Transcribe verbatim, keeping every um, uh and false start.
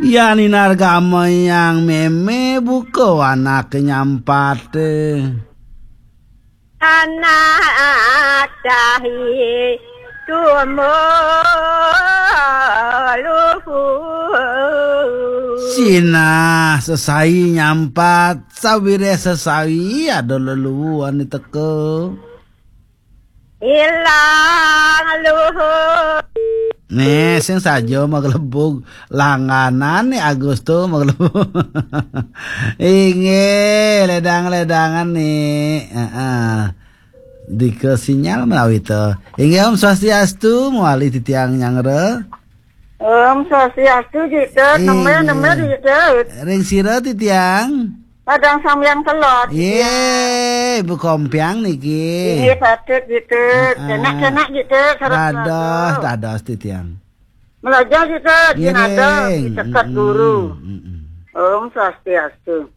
Yan inarga meyang meme buka anak nyampat. Anak tahi tumuluhu. Sinah sesai nyampat, sawireh sesai ada leluu ane teka. Ilang luhu. Nih, sing saja maglebug langganan nih Agus tuh maglebug. Inggih, ledang-ledangan nih. Heeh. Dika sinyal menawi to. Inggih, Om Swastiastu, mawali titiang nyanggra. Om Swastiastu, Jitut. Neme, neme, Jitut. Ring sira titiang? Padang Sambiang Kelod, Jitut. Ye, Bu Kompiang niki. Inggih, patut, Jitut. Heeh. Kenak-kenak, Jitut, sareng dados, keluarga. Dados titiang. Melajar, Jitut, nggih, nada, diseket guru. Mm-mm. Om Swastiastu.